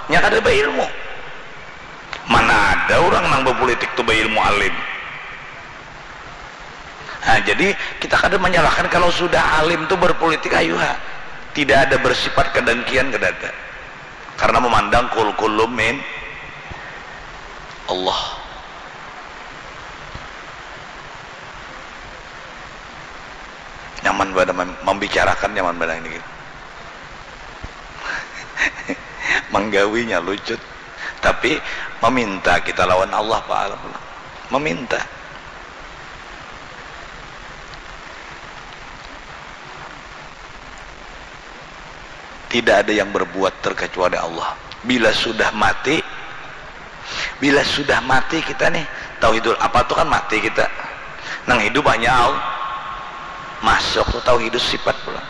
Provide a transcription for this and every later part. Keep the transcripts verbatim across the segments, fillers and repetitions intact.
Nya kada bailmu. Mana ada urang nang bapulitik tu bailmu alim. Nah, jadi kita kada manyalahkan kalau sudah alim tu berpulitik, ayu ha. Tidak ada bersifat kedengkian, kada ada. Karena memandang kul kullu min Allah. Nyaman banar mem-, membicarakan nyaman banar ini. Manggawinya lucut. Tapi meminta kita lawan Allah, Pak. Meminta. Tidak ada yang berbuat terkecuali Allah. Bila sudah mati, bila sudah mati kita nih, tauhidul apa tuh kan mati kita. Nang hidup hanya Allah. Masuk tuh tauhidus sifat pulang.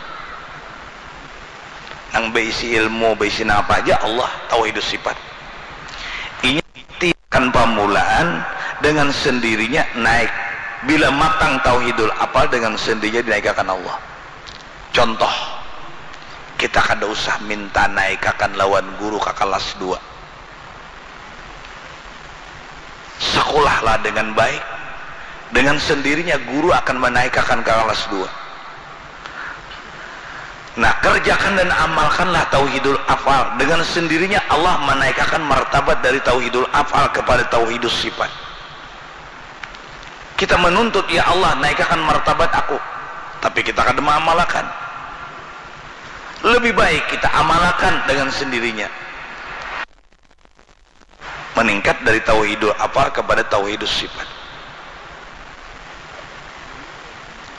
Nang beisi ilmu, beisi nang apa aja Allah, tauhidus sifat. Inya tiakan pamulaan dengan sendirinya naik. Bila matang tauhidul apal dengan sendirinya dinaikakan Allah. Contoh, kita kada usah minta naikakan lawan guru ka kalas dua. Sekolahlah dengan baik, dengan sendirinya guru akan menaikakan ka kalas dua. Nah, kerjakan dan amalkanlah tauhidul afal. Dengan sendirinya Allah menaikakan martabat dari tauhidul afal kepada tauhidus sifat. Kita menuntut, "Ya Allah, naikakan martabat aku." Tapi kita kada maamalakan. Lebih baik kita amalakan dengan sendirinya. Meningkat dari tauhidul afal kepada tauhidus sifat.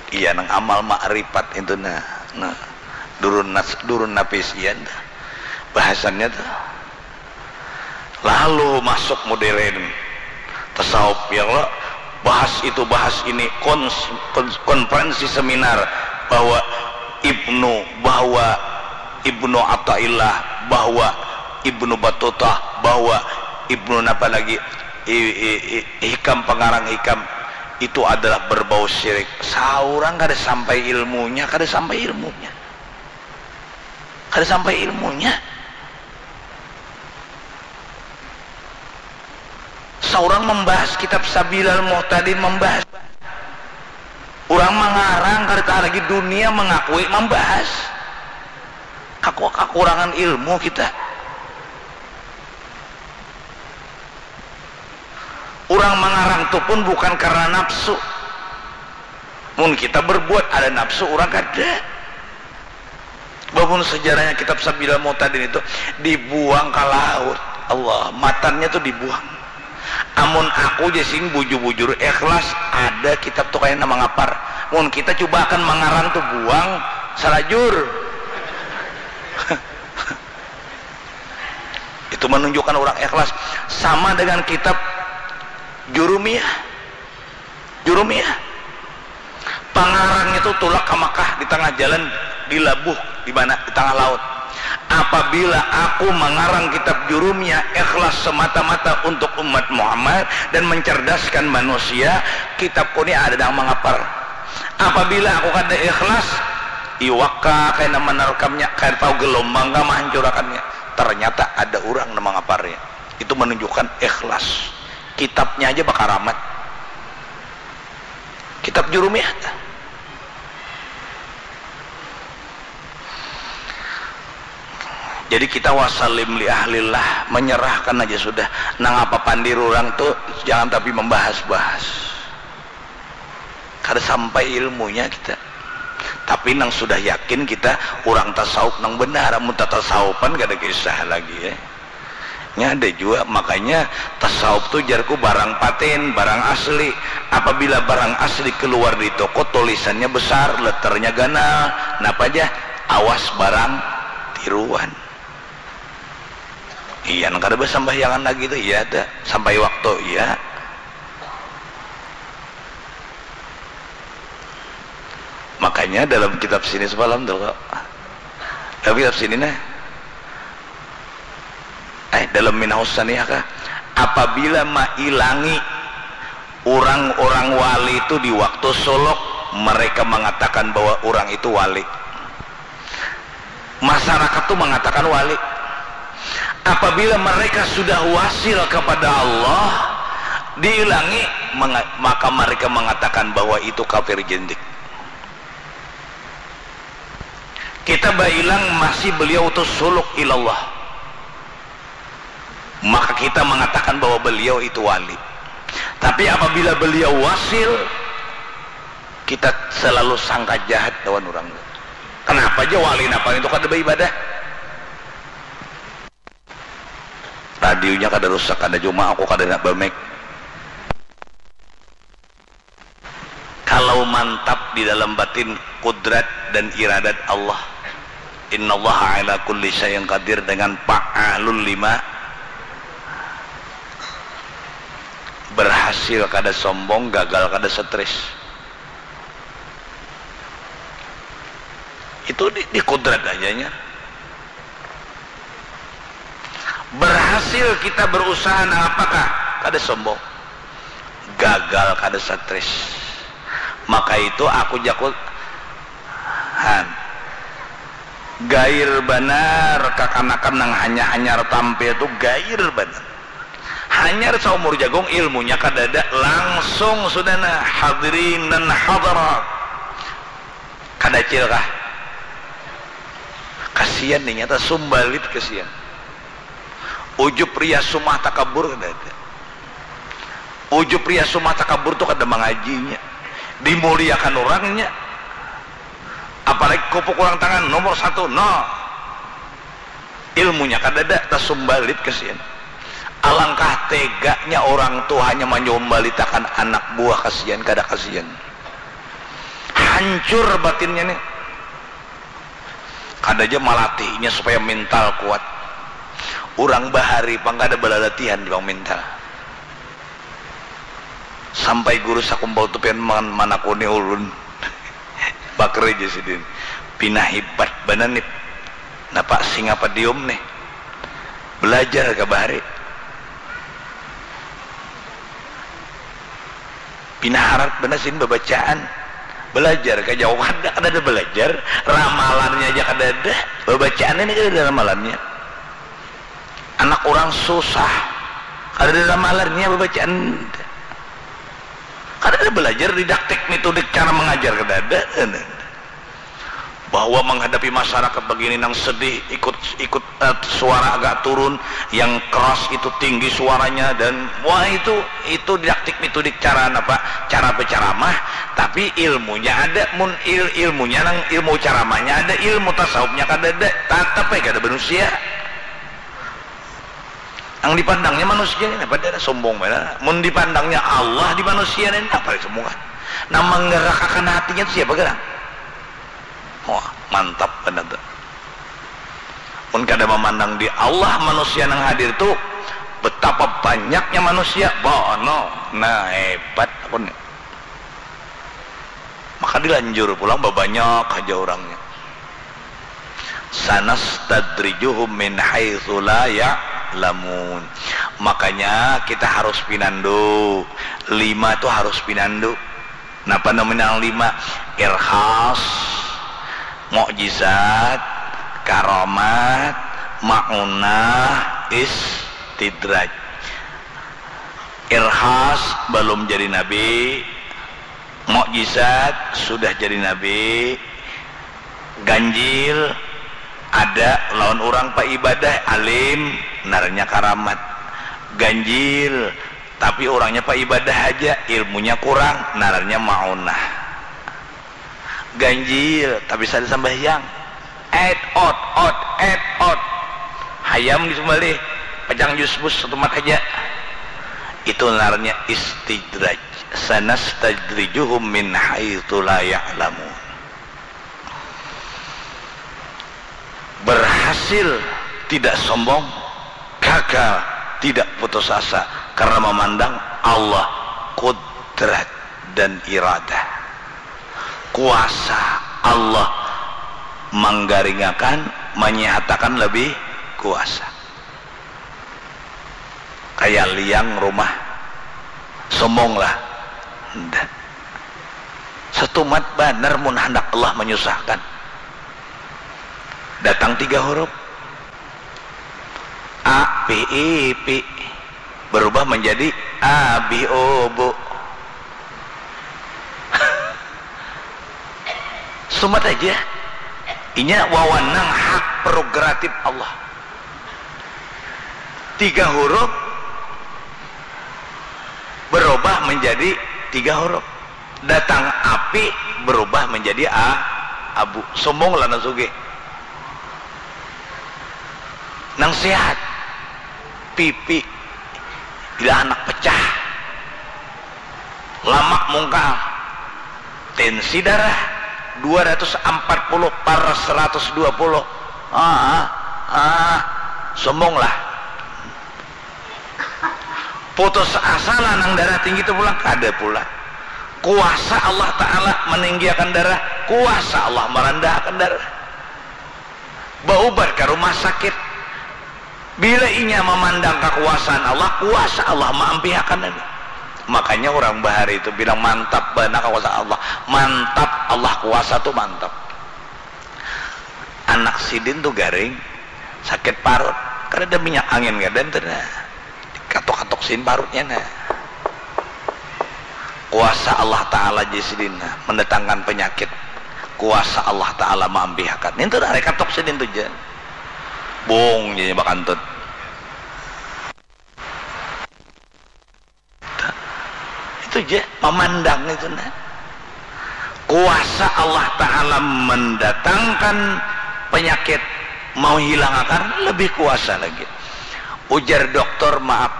Iya, nang amal makrifat itu, nah. Nah, durun nas-, durun napis, iya, nah. Bahasannya tuh. Lalu masuk modern. Tasawuf, ya Allah, bahas itu, bahas ini, kons-, kons-, konferensi seminar bahwa Ibnu, bahwa Ibnu Athaillah, bahwa Ibnu Batutah, bahwa Ibnu napa lagi, i-, i-, i-, Hikam, pengarang Hikam, itu adalah berbau syirik. Saurang kada sampai ilmunya, kada sampai ilmunya. Kada sampai ilmunya. Saurang membahas kitab Sabilal Muhtadin, membahas. Urang mangarang, kada tahan lagi, dunia mengakui, membahas. Aku kakurangan ilmu kita. Urang mangarang tu pun bukan karena nafsu. Mun kita berbuat ada nafsu, urang kada. Bahwa mun sejarahnya kitab Sabilal Muhtadin itu dibuang ka laut. Allah, matannya tu dibuang. Amun aku ja sing bujur-bujur ikhlas, ada kitab tu kaya nang mangapar. Mun kita cuba akan mangarang tu buang, salajur. Itu menunjukkan urang ikhlas. Sama dengan kitab Jurumiyah. Jurumiyah. Pangarangnya tu tulak ka Makkah, di tangah jalan dilabuh, di mana? Di tangah laut. Apabila aku mangarang kitab Jurumiyah ikhlas semata-mata untuk umat Muhammad dan mencerdaskan manusia, kitabku ni ada nang mangapar. Apabila aku kada ikhlas, iwak kah kaya nang manarkamnya, kada tahu gelombang kah mahancurakannya. Ternyata ada urang nang mangaparnya. Itu menunjukkan ikhlas. Kitabnya aja bakaramat. Kitab Jurumiyah. Jadi kita wasalim li ahlillah, menyerahkan aja sudah. Nang apa pandir urang tu jangan tapi membahas-bahas. Kada sampai ilmunya kita. Tapi nang sudah yakin kita urang tasawuf nang benar, amun tatasawufan kada kisah lagi, ya. Nya ada jua, makanya tasawuf tu jarku barang patin, barang asli. Apabila barang asli keluar di toko, tulisannya besar, letternya ganal, napa ja? Awas barang tiruan. Iya, nang kada basambahyangan lagi tu, iya, ada sampai waktu, iya. Makanya dalam kitab sini semalam tu, kok. Dalam kitab sini, nah. Eh, dalam Minahus Saniyah kah? Apabila mailangi urang-urang wali itu di waktu suluk, mereka mengatakan bahwa urang itu wali. Masyarakat tu mangatakan wali. Apabila mereka sudah wasil kepada Allah, diilangi, menga-, maka mereka mengatakan bahwa itu kafir jindik. Kita bailang masih beliau tu suluk ilallah, maka kita mengatakan bahwa beliau itu wali. Tapi apabila beliau wasil, kita selalu sangka jahat lawan urang. Kenapa aja wali napa itu kada baibadah? Radionya kada rusak, kada cuma aku kada nak bamik. Kalau mantap di dalam batin kudrat dan iradat Allah, innallaha ala kulli syai'in qadir, dengan fa'alul lima, berhasil kada sombong, gagal kada stres. Itu di, di kudrat ajanya. Berhasil kita berusaha nang apakah? Kada sombong. Gagal kada stres. Maka itu aku jaku, han, gair banar kakanakan nang hanya hanyar tampil tu, gair banar. Hanyar saumur jagung, ilmunya kadada, langsung sudah nah, hadirin dan hadirat. Kadacil kah? Kasian nih nyata, sumbalit kasian. Ujub riya sumah takabur kadada. Ujub riya sumah takabur tu kada mangajinya. Dimuliakan urangnya. Apalagi kupuk urang tangan nomor satu, no. Ilmunya kadada, tasumbalit kasian. Alangkah teganya orang tu hanya manyumbalitakan anak buah, kasian kada kasian. Hancur batinnya nih. Kada aja malatihnya supaya mental kuat. Urang bahari pang kada balalatihan di pang mental. Sampai guru sakumpul tu pian man-, manakuni ulun. Bakri ja sidin. Pina hibat banar nih. Napa singapadium nih. Belajar ka bahari. Pina harat banar sidin babacaan. Belajar ka jauh kada, kada ada belajar. Ramalannya aja kada ada. Babacaan ini kada ada ramalannya. Anak urang susah, kadada ramalannya babacaan, kadada balajar didaktik mitodik cara mangajar, kadada. Bahwa manghadapi masyarakat bagini nang sedih, ikut, ikut, eh, suara agak turun, yang keras itu tinggi suaranya, dan wah, itu, itu didaktik mitodik cara napa, cara bacaramah, tapi ilmunya ada, mun il-, ilmunya nang ilmu caramahnya ada, ilmu tasawufnya kadada, tatap ai kada manusia. Nang dipandangnya manusia ni napa, ada sombong banar. Mun dipandangnya Allah di manusia ni napa sombongan? Nang manggarakakan hatinya tu siapa garang? Wah, mantap banar tu. Mun kada mamandang di Allah, manusia nang hadir tu betapa banyaknya manusia, bono. Nah, hebat aku ni. Maka dilanjur pulang babanyak haja urangnya. Sanastadrijuhum min haitsu la ya'lamun. Makanya kita harus pinandu. Lima tu harus pinandu. Napa namanya nang lima? Irhas, mukjizat, karamat, maunah, istidraj. Irhas balum jadi nabi, mukjizat sudah jadi nabi, ganjil ada lawan urang paibadah, alim, ngarannya karamat. Ganjil, tapi urangnya paibadah haja, ilmunya kurang, ngarannya maunah. Ganjil, tapi sada sambahyang. Et ot, ot, et ot. Hayam disumbalih, pacang jus bus satumat haja. Itu ngarannya istidraj. Sanastadrijuhum min haitsu la ya'lamun. Berhasil tidak sombong, gagal tidak putus asa, karena memandang Allah, kudrat dan iradah. Kuasa Allah manggaringakan, manyihatakan lebih kuasa. Kaya liang rumah, sombong lah. Nda. Satumat banar mun handak Allah manyusahkan. Datang tiga huruf. A Abih Ipi berubah menjadi Abih Ubu. Sumat aja. Inya wawanang hak prerogatif Allah. Tiga huruf berubah menjadi tiga huruf. Datang api berubah menjadi a, abu. Sombong lah nang sugih. Nang sehat, pipi bila anak pecah, lamak mungkal, tensi darah dua ratus empat puluh par seratus dua puluh. Ah, ah, sombong lah. Putus asa lah nang darah tinggi tu pulang, kada pula. Kuasa Allah Ta'ala meninggiakan darah, kuasa Allah merendahakan darah. Baubat ka rumah sakit. Bila inya mamandang kakuasaan Allah, kuasa Allah maampihakan ini. Makanya urang bahari itu bilang, "Mantap banar kakuasaan Allah." Mantap, Allah kuasa tu mantap. Anak sidin tu garing, sakit parut, kadada minyak angin, kada ntu nah. Dikatuk-katuk sidin parutnya nah. Kuasa Allah Ta'ala ja sidin nah, mendatangkan penyakit. Kuasa Allah Ta'ala maampihakan. Nintu nah, rekatuk sidin tu ja. Bung, janya bakantut. Itu ja, mamandang itu nah. Kuasa Allah Ta'ala mendatangkan penyakit, mau hilangakan, lebih kuasa lagi. Ujar doktor, "Maaf,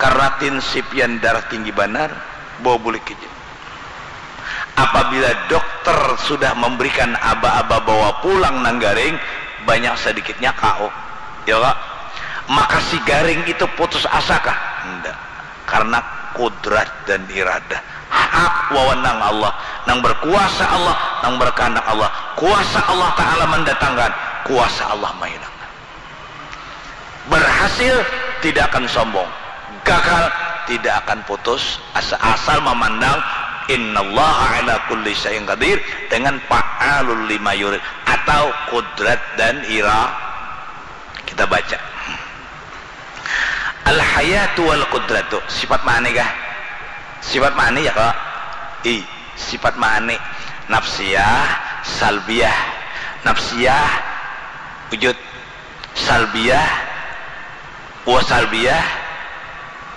karena tensi pian darah tinggi banar, bawa bulik haja." Apabila dokter sudah memberikan aba-aba bawa pulang nang garing, banyak sedikitnya K O. Ya, Kak? Maka si garing itu putus asa kah? Ndak. Karena kudrat dan iradah. Hak wawenang Allah. Nang berkuasa Allah, nang berkehendak Allah. Kuasa Allah Ta'ala mendatangkan, kuasa Allah menghilangkan. Berhasil, tidak akan sombong. Gagal, tidak akan putus asa. Asal memandang, "Innallaha ala kulli syai'in qadir," dengan fa'alul lima yurid, atau kudrat dan ira-, kita baca. Al-hayatu wal qudratu. Sifat ma'ani kah? Sifat ma'ani ya, Kak? I, sifat ma'ani. Nafsiyah, salbiyah. Nafsiyah, wujud. Salbiyah, wa salbiyah.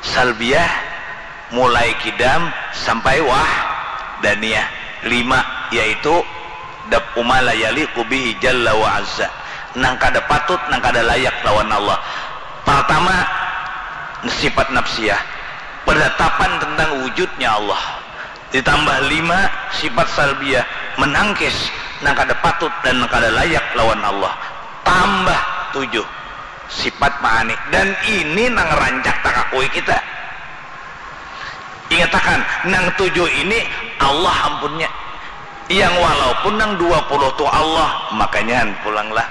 Salbiyah, mulai kidam sampai wahdaniyah. Lima, yaitu daf'u ma la yaliqu bihi jalla wa azza. Nang kada patut, nang kada layak lawan Allah. Pertama, sifat nafsiyah, penetapan tentang wujudnya Allah. Ditambah lima, sifat salbiyah, menangkis nang kada patut dan nang kada layak lawan Allah. Tambah tujuh, sifat ma'ani. Dan ini nang rancak takakui kita. Ingatakan, nang tujuh ini Allah ampunnya. Yang walaupun nang dua puluh tu Allah, makanya pulanglah.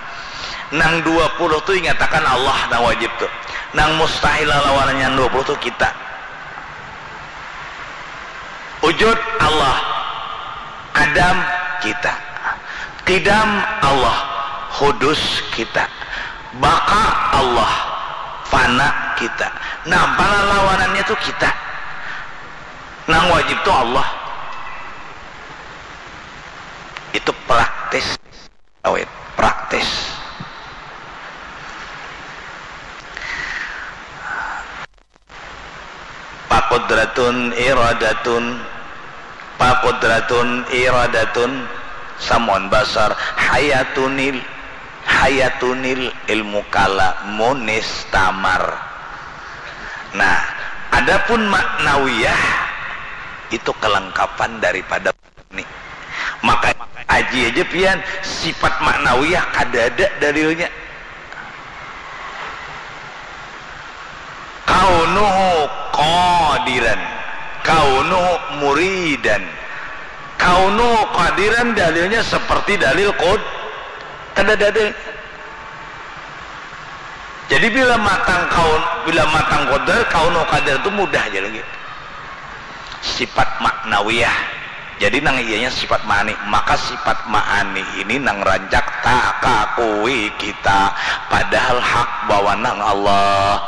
Nang dua puluh tu ingatakan Allah nang wajib tu. Nang mustahil lawanannya nang dua puluh tu kita. Wujud Allah, adam kita. Qidam Allah, hudus kita. Baqa Allah, fana kita. Nah, pala lawanannya tu kita. Nang wajib tu Allah. Itu praktis. Awet, praktis. Pakudratun iradatun, pakudratun iradatun, samun basar, hayatunil, hayatunil ilmu kala munistamar. Nah, adapun maknawiyah itu kelengkapan daripada ni. Maka aji aja pian, sifat maknawiyah kada ada dalilnya. Kaunuhu qadiran, kaunuhu muridan, kaunuhu qadiran dalilnya seperti dalil qud-, kada ada dalil. Jadi bila matang kaun, bila matang qadar, kaunuhu qadiran itu mudah aja lagi. Sifat maknawiyah. Jadi nang iyanya sifat ma'ani, maka sifat ma'ani ini nang rancak takakui kita, padahal hak bawanang Allah.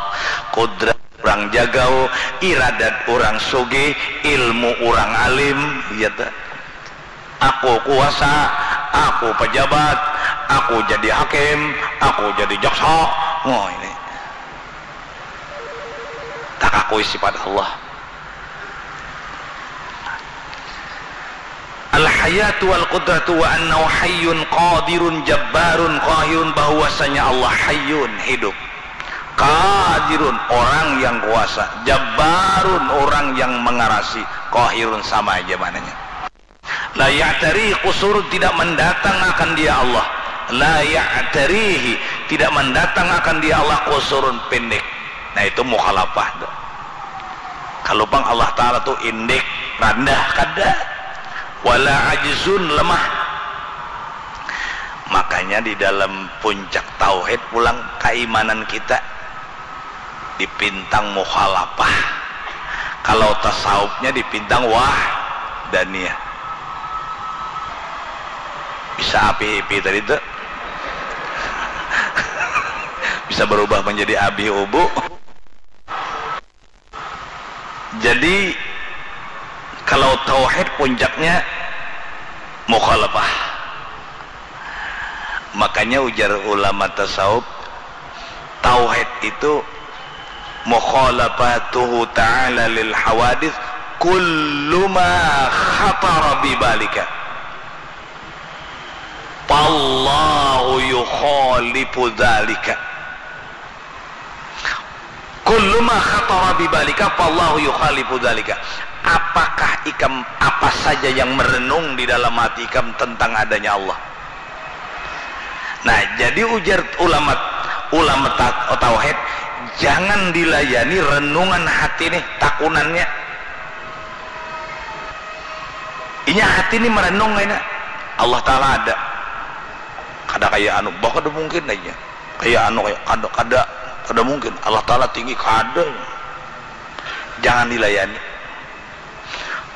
Kudrat urang jagau, iradat urang sugih, ilmu urang alim, iya ta. Aku kuasa, aku pejabat, aku jadi hakim, aku jadi jaksa. Oh, ini. Takakui sifat Allah. Al-hayatu wal qudratu wa annahu hayyun qadirun jabbarun qahirun, bahwasanya Allah hayyun, hidup, qadirun, orang yang kuasa, jabbarun, orang yang mengarasi, qahirun, sama aja maknanya. La ya'tari qusurun, tidak mendatang akan dia Allah. La ya'tarihi, tidak mendatang akan dia Allah qusurun, pendek. Nah, itu mukhalafah tu. Kalau pang Allah Ta'ala tu indik, randah, kada. Wala ajzun, lemah. Makanya di dalam puncak tauhid pulang kaimanan kita dipintang mukhalafah. Kalau tasawufnya dipintang wahdaniyah. Bisa api-ipi tadi tu. Bisa berubah menjadi abi ubu. Jadi, kalau tauhid puncaknya mukhalafah. Makanya ujar ulama tasawuf, tauhid itu mukhalafatuhu ta'ala lil hawadith kullu ma khatara bi balika. Fallahu yukhalifu dzalika. Kullu ma khatara bi balika fallahu yukhalifu dzalika. Apakah ikam, apa saja yang merenung di dalam hati ikam tentang adanya Allah? Nah, jadi ujar ulama, ulama ta-, tauhid, jangan dilayani renungan hati nih, takunannya. Inya hati nih merenung kayaknya, Allah Ta'ala ada. Kada kaya anu, bah kada mungkin aja. Kaya anu, kaya kada, kada, kada mungkin. Allah Ta'ala tinggi, kada. Jangan dilayani.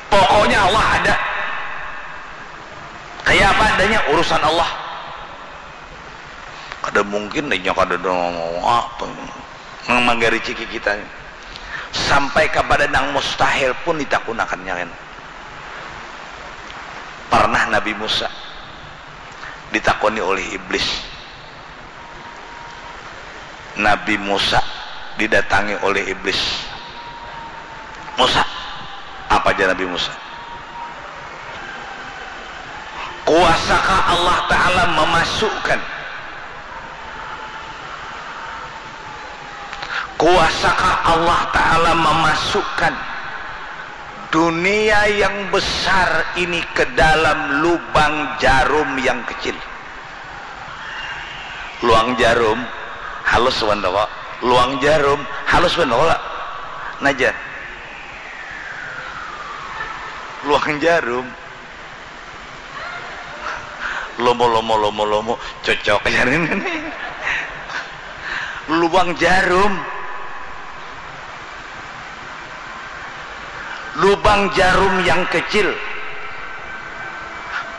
Pokoknya Allah ada. Kaya apa adanya, urusan Allah. Kada mungkin inya kada ada ngomong apa. Nang manggariciki kita. Sampai kapada nang mustahil pun ditakunakannya, kan. Pernah Nabi Musa ditakoni oleh iblis. Nabi Musa didatangi oleh iblis. "Musa," apa jar Nabi Musa, "kuasakah Allah Ta'ala memasukkan, kuasakah Allah Ta'ala memasukkan dunia yang besar ini ke dalam lubang jarum yang kecil?" Luang jarum halus wan toko. Luang jarum halus wan toko lah. Naja. Luang jarum. Lomo, lomo, lomo, lomo. Cocok. Luang jarum. Lubang jarum yang kecil.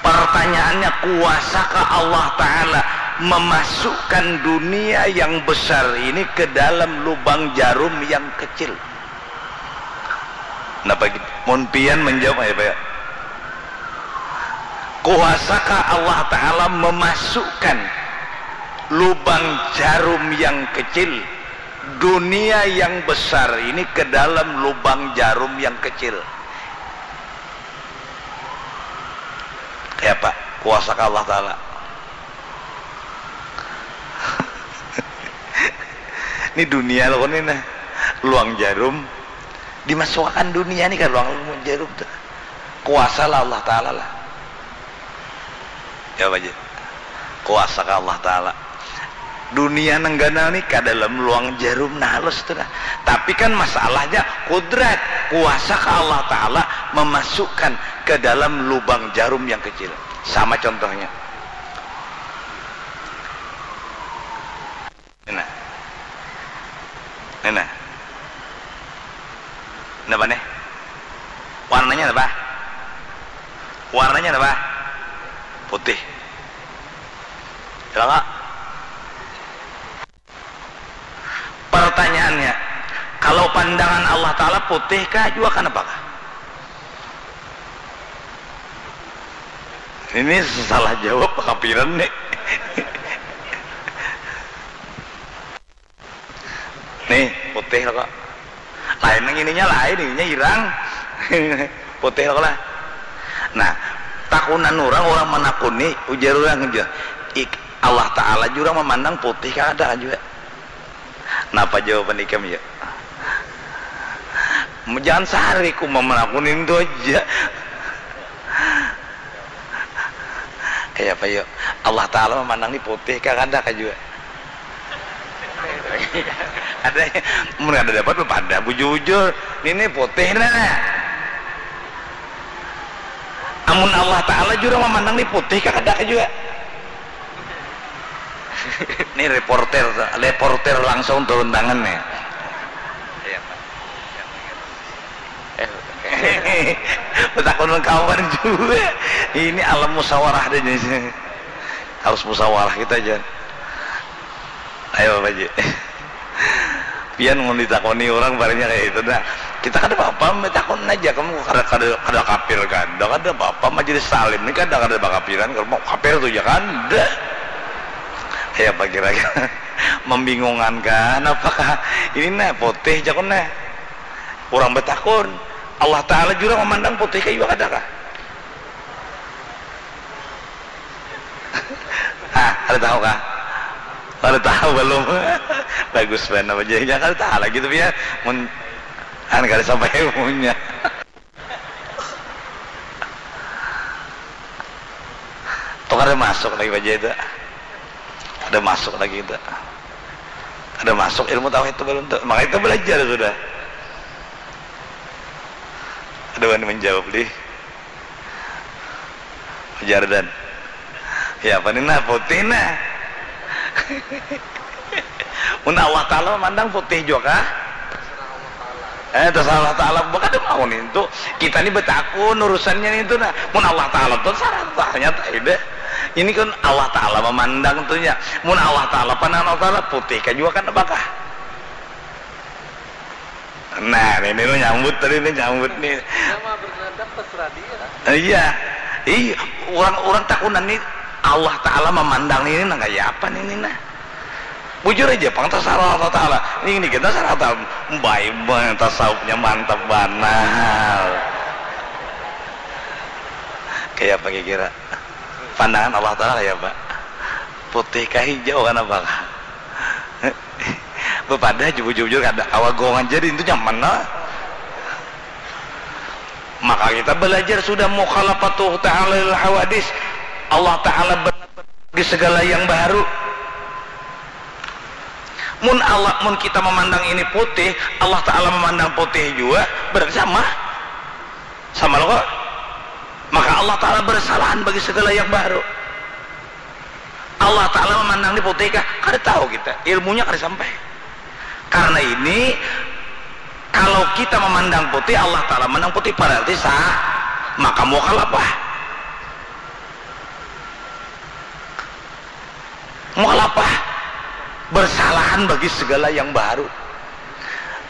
Pertanyaannya, kuasakah Allah Ta'ala memasukkan dunia yang besar ini ke dalam lubang jarum yang kecil? Napa gitu? Mun pian menjawab, ayo, Pak, ya. Kuasakah Allah Ta'ala memasukkan lubang jarum yang kecil, dunia yang besar ini ke dalam lubang jarum yang kecil? Kaya apa? Kuasakah Allah Ta'ala? Ini dunia lo ni nah. Luang jarum. Dimasukakan dunia ni ka luang jarum tu. Kuasa lah Allah Ta'ala lah. Ya, Pak Ji. Kuasa ka Allah Ta'ala. Dunia nang ganal ni ka dalam luang jarum nah halus tu nah. Tapi kan masalahnya kudrat, kuasa ka Allah Ta'ala memasukkan ke dalam lubang jarum yang kecil. Sama contohnya. Nah. Nah, nah. Napa nih? Warnanya apa? Warnanya apa? Putih. Jelas nggak? Pertanyaannya, kalau pandangan Allah Ta'ala putih kah jua kan apakah? Ini salah jawab kapiran nih. Nih, putih lah kok. Lain nang ininya lain, ininya hirang. Putih lah kok lah. Nah, takunan orang, orang manakuni, ujar orang aja. Ik, Allah Ta'ala jua memandang putih kada kan juga. Napa jawaban ikam ya? Jangan sehari ku memenakuni itu aja. Kayak apa yuk? Allah Ta'ala memandang ni putih kah kada kah juga? Ada, mun kada dapat pada bujur-bujur, ini putih nah. Amun Allah Ta'ala jua memandang ni putih kah kada kah juga? Ini reporter, reporter langsung turun tangan nih. Iya, Pak. Iya, Pak. Eh, betakun kawan juga. Ini alam musyawarah deh, jadi harus musyawarah kita aja. Ayo, Pak Haji. Pian mun ditakoni orang barangnya kayak itu, nah, kita kada apa-apa, takun aja, kamu kada, kada, kada kafir kan, dah kada apa-apa, majelis salim ni kada, kada bakafiran, kalau mau kafir tuh ya kan, dah. Kayak apa kira-kira? Membingungkan kan, apakah ini nah putih, jakun nah. Orang betakun, Allah Ta'ala jua memandang putih kayu kada kah? Ah, kada tahu kah? Kada tahu belum. Bagus banar apa jadi kada tahu lagi tapi ya mun an kada sampai ilmunya. Tuh kada masuk lagi baca itu. Kada masuk lagi itu. Kada masuk ilmu tauhid itu belum tuh. Maka itu belajar sudah. Ada wani menjawab lih. Jardan. Ya apa ni nah putih nah. Mun Allah Ta'ala memandang putih juga kah? Eh, terserah Allah Ta'ala. Bukan ada mau nih itu. Kita ni betakun urusannya nih itu nah. Mun Allah Ta'ala tuh sarah tanya tak ada. Ini kan Allah Ta'ala memandang tuh ya. Mun Allah Ta'ala pandangan Allah Ta'ala putih kah juga kan apakah? Nah, ini lu nyambut tadi nih, nyambut nih. Nama bernadab terserah dia. Iya. Iya, orang-orang takunan nih Allah Ta'ala memandang ini nang kayak apa nih, nih nah. Bujur aja, pang terserah Allah Ta'ala. Ini, ini kita serah tahu. Baik banget tasawufnya mantap banar. Kayak apa kira-kira? Pandangan Allah Ta'ala kayak apa? Putih kah hijau kan apa kah? Bepadah jujur-jujur kada kawa gong aja di itu nyaman lah. Maka kita belajar sudah mukhalafatuh ta'ala lil hawadis. Allah Ta'ala benar di segala yang baru. Mun Allah, mun kita memandang ini putih, Allah Ta'ala memandang putih juga, berarti sama. Sama lo kok. Maka Allah Ta'ala bersalahan bagi segala yang baru. Allah Ta'ala memandang ni putih kah? Kada tahu kita. Ilmunya kada sampai. Karena ini, kalau kita memandang putih, Allah Ta'ala memandang putih, berarti sah. Maka mukhalafah. Mukhalafah. Bersalahan bagi segala yang baru.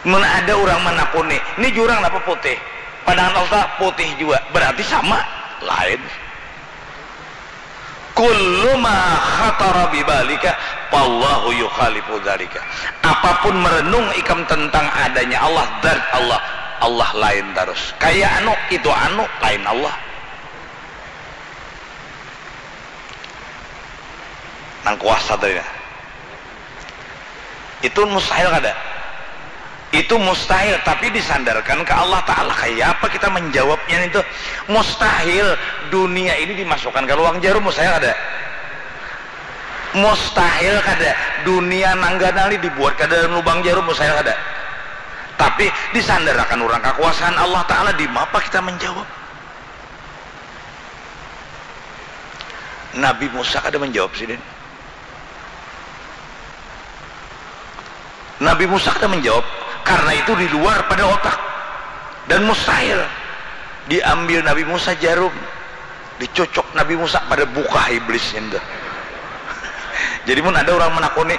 Mun ada orang menakuni, ini jurang apa putih? Padahal Allah putih juga. Berarti sama? Lain. Kullu ma khatara bibalika fallahu yukhalifu dzalika. Apapun merenung ikam tentang adanya Allah, zat Allah, Allah lain terus. Kayak anu, itu anu, lain Allah. Nang kuasa tadi nah. Itu mustahil kada? Itu mustahil, tapi disandarkan ke Allah Ta'ala. Kayak apa kita menjawabnya itu? Mustahil dunia ini dimasukkan ke lubang jarum, mustahil kada? Mustahil kada dunia nang ganal ini dibuat ke dalam lubang jarum, mustahil kada? Tapi disandarakan orang kekuasaan Allah Ta'ala, di mapa kita menjawab? Nabi Musa kada menjawab sidin. Nabi Musa kada menjawab karena itu di luar pada otak dan mustahil diambil Nabi Musa jarum. Dicucuk Nabi Musa pada bukah iblisnya tu. Jadi mun ada urang manakuni,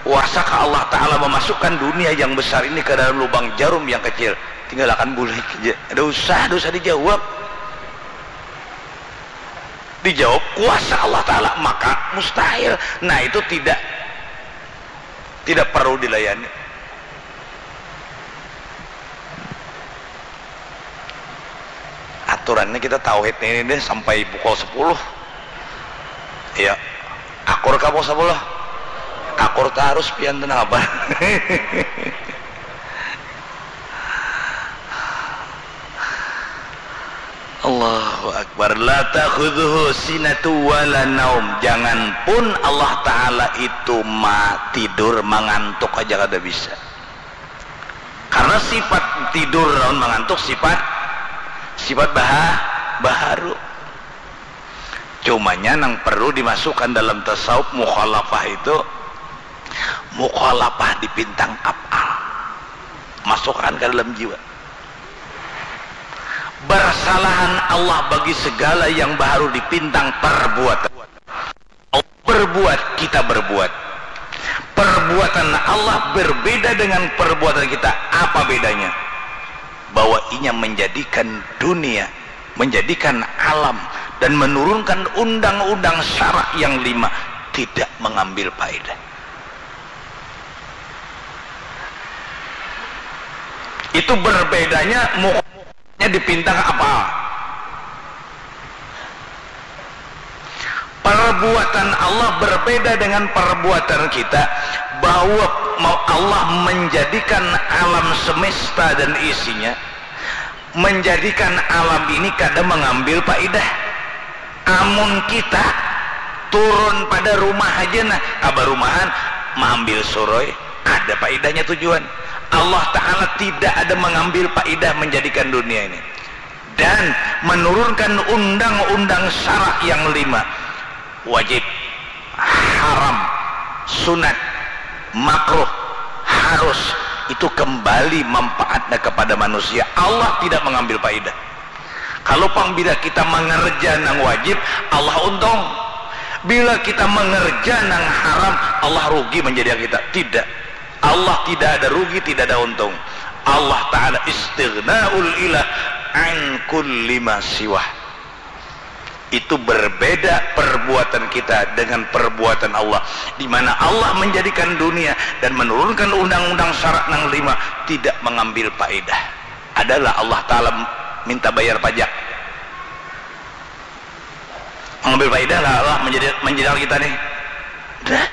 kuasakah Allah Ta'ala mamasukkan dunia yang besar ini ka dalam lubang jarum yang kecil? Tinggalakan bulik ja. Kada usah, kada usah dijawab. Dijawab kuasa Allah Ta'ala, maka mustahil. Nah, itu tidak, tidak perlu dilayani. Aturannya kita tauhid ini deh sampai pukul sepuluh. Ya, akur ka pukul sepuluh. Akur tarus pian tu nang apa? Allahu Akbar. La ta'khudhuhu sinatu wala naum. Jangan pun Allah Ta'ala itu ma tidur, mangantuk aja kada bisa. Karena sifat tidur lawan mangantuk sifat, sifat baha-, baharu. Cumanya nang perlu dimasukkan dalam tasawuf mukhalafah itu, mukhalafah di pintang apal. Masukkan ka dalam jiwa. Barsalahan Allah bagi segala yang baharu di pintang perbuatan. Berbuat, kita berbuat. Perbuatan Allah berbeda dengan perbuatan kita. Apa bedanya? Bahwa inya menjadikan dunia, menjadikan alam, dan menurunkan undang-undang syarak yang lima, tidak mengambil faedah. Itu berbedanya mukhalafahnya di pintang apal. Perbuatan Allah berbeda dengan perbuatan kita, bahwa mau Allah menjadikan alam semesta dan isinya, menjadikan alam ini kada mengambil faedah. Amun kita turun pada rumah aja nah, kabarumahan, maambil suroi, ada faedahnya tujuan. Allah Ta'ala tidak ada mengambil faedah menjadikan dunia ini. Dan menurunkan undang-undang syarak yang lima. Wajib, haram, sunat, makruh, harus, itu kembali manfaatnya kepada manusia. Allah tidak mengambil faedah. Kalau pang bila kita mengerja nang wajib, Allah untung. Bila kita mengerja nang haram, Allah rugi menjadi kita. Tidak. Allah tidak ada rugi, tidak ada untung. Allah Ta'ala istighnaul ilah an kulli ma siwah. Itu berbeda perbuatan kita dengan perbuatan Allah, di mana Allah menjadikan dunia dan menurunkan undang-undang syarak nang lima, tidak mengambil faedah. Adalah Allah Ta'ala minta bayar pajak. Mengambil faedah lah Allah menjadi, menjadikan kita nih. Dah.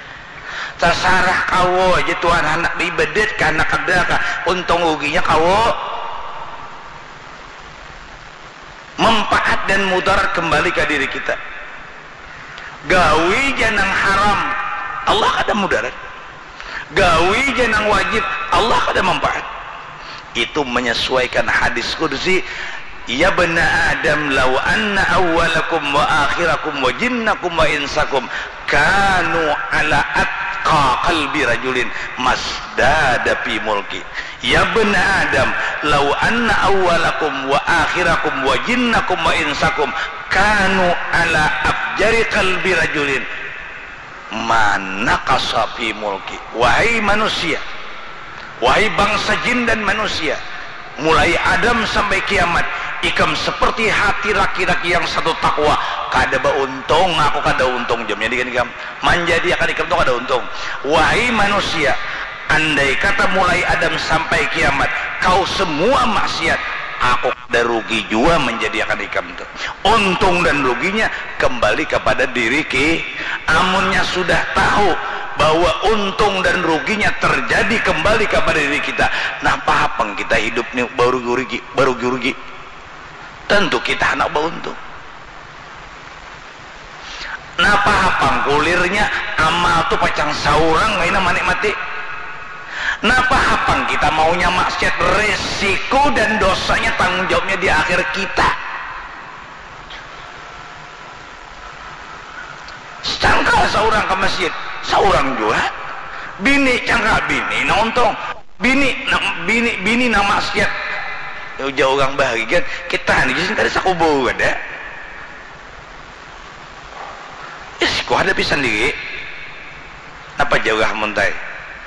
Tasarah kawo aja Tuhan, handak diibadat kah, handak kada kah, untung ruginya kawo. Manfaat dan mudarat kembali ka diri kita. Gawi ja nang haram, Allah kada mudarat. Gawi ja nang wajib, Allah kada manfaat. Itu menyesuaikan hadis qudsi, "Ya bna Adam, law anna awwalakum wa akhirakum wa jinnakum wa insakum kanu ala atqa qalbi rajulin masdada fi mulki." "Ya bna Adam, law anna awwalakum wa akhirakum wa jinnakum wa insakum kanu ala afjari qalbi rajulin, ma naqasa fi mulki." Wahai manusia, wahai bangsa jin dan manusia, mulai Adam sampai kiamat, ikam seperti hati laki-laki yang satu takwa. Kada bauntung, aku kada untung, jamnya dikan ikam. Manjadiakan ikam tu kada untung. Wahai manusia, andai kata mulai Adam sampai kiamat, kau semua maksiat, aku kada rugi jua manjadiakan ikam tu. Untung dan ruginya kembali kepada diri ki. Amunnya sudah tahu bahwa untung dan ruginya terjadi kembali kepada diri kita, napa hapang kita hidup ni barugi-rugi, barugi-rugi? Tentu kita handak bauntung. Napa hapang kulirnya, amal tu pacang saurang kaina manikmati. Napa hapang kita maunya maksiat, resiko dan dosanya tanggung jawabnya di akhir kita. Cangkal saurang ka masjid, saurang jua. Bini cangkal, bini nang untung. Bini nang, bini, bini nang maksiat. Ujar urang bahari kan, kita ni gasan kada sakubu kada. Hadapi sandiri. Napa jar urang muntai?